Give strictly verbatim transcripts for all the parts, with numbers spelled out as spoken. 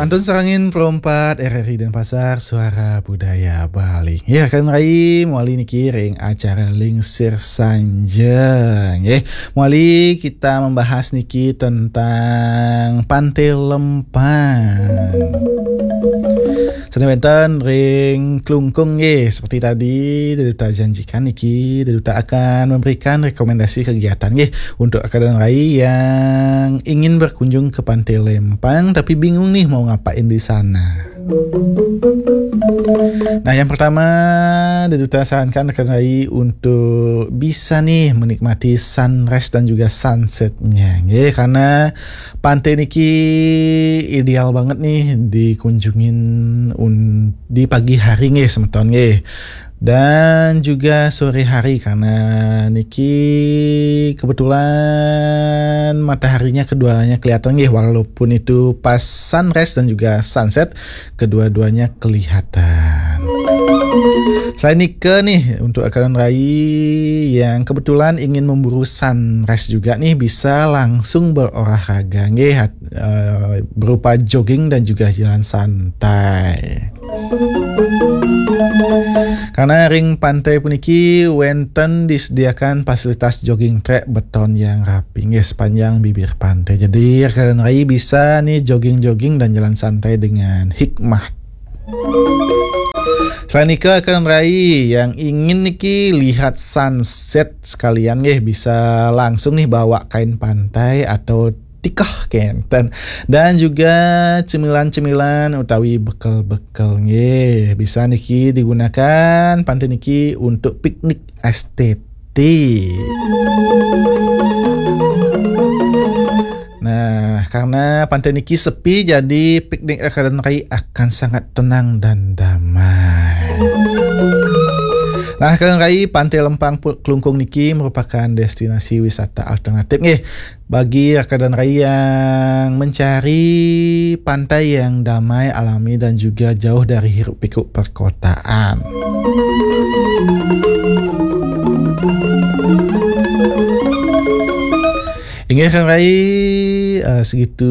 Antun sareng Pro empat R R I Denpasar, Suara Budaya Bali. Ya, kan rai mawali niki ring acara Lingsir Sanjeng. Ya, mawali kita membahas niki tentang Pantai Lempang. Sane wenten ring Klungkung nggih, seperti tadi Deduta janjikan niki, Deduta akan memberikan rekomendasi kegiatan nggih untuk akan rai yang ingin berkunjung ke Pantai Lempang tapi bingung nih mau ngapain di sana. Nah, yang pertama, Deduta sarankan akan rai untuk bisa nih menikmati sunrise dan juga sunsetnya nggih, karena pantai niki ideal banget nih dikunjungin un-, di pagi hari nggih, semeton nggih. Dan juga sore hari, karena niki kebetulan mataharinya keduanya kelihatan nggih, walaupun itu pas sunrise dan juga sunset, kedua-duanya kelihatan. Selain nika nih, untuk akan rai yang kebetulan ingin memburu sunrise juga nih, bisa langsung berolahraga nggih, hat-, eh, berupa jogging dan juga jalan santai. Karena ring pantai puniki wenten disediakan fasilitas jogging track beton yang rapi nggih sepanjang bibir pantai. Jadi, rekan rai bisa nih jogging-jogging dan jalan santai dengan hikmat. Selain nika, rekan rai yang ingin niki lihat sunset sekalian nggih, bisa langsung nih bawa kain pantai atau tikeh kenten. Dan juga cemilan-cemilan utawi bekel-bekel nggih. Bisa niki digunakan pantai niki untuk piknik estetik. Nah, karena pantai niki sepi, jadi piknik rekan rai akan sangat tenang dan damai. Nah, rekan rai, Pantai Lempang Pu-, Klungkung niki merupakan destinasi wisata alternatif nggih bagi rekan rai yang mencari pantai yang damai, alami, dan juga jauh dari hiruk pikuk perkotaan. Inggih, rekan rai, eh, segitu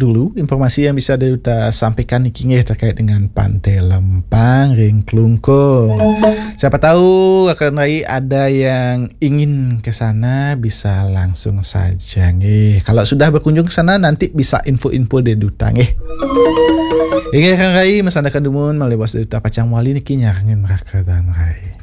dulu informasi yang bisa Deduta sampaikan niki nggih terkait dengan Pantai Lempang ring Klungkung. Siapa tahu rekan rai ada yang ingin ke sana, bisa langsung saja nggih. Kalau sudah berkunjung ke sana, nanti bisa info-info Deduta nggih. Inggih, rekan rai, masandekan dumun, malih bos Deduta pacang mawali niki nyarengin rekan rai.